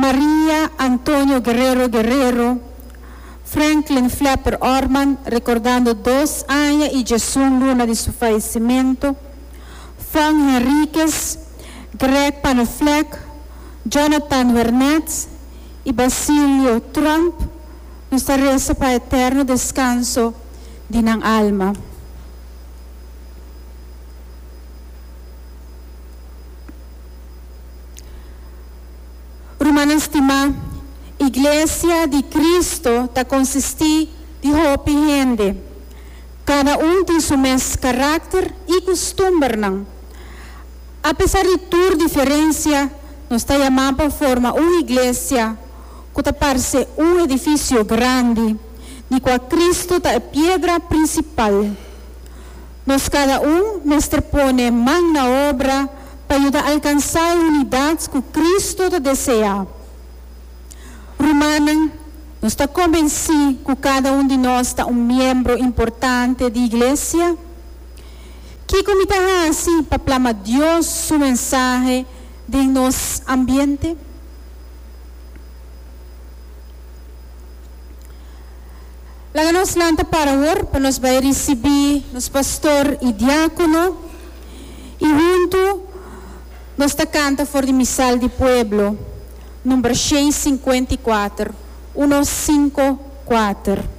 Maria Antonio Guerrero Guerrero, Franklin Flapper Orman, recordando dos aña y djesun luna di su fayecimento, Fong Henriquez, Greg Panoflek, Jonathan Wernet y Basilio Tromp, nos ta reza pa eterno descanso di nan alma. Rumannan stimá, Iglesia di Cristo ta konsistí di hopi hende. Kada un tin su mes karakter i kustumbernan. Apesar di tur diferensia, nos ta yamá pa forma un iglesia ku ta parse un edifisio grandi, di kua Cristo ta e piedra prinsipal. Nos kada un mester pone man na obra pa yuda alkansá e unidat ku Kristu ta deseá. Rumannan, nos ta kombensí ku kada un di nos ta un miembro importante di iglesia? Kiko mi ta hasi pa plama Dios su mensahe den nos ambiente? Laga nos lanta para awor pa nos bai risibí nos pastor i diákono i huntu nos ta kanta for di Misal di Pueblo, number 654, uno sinku kuater.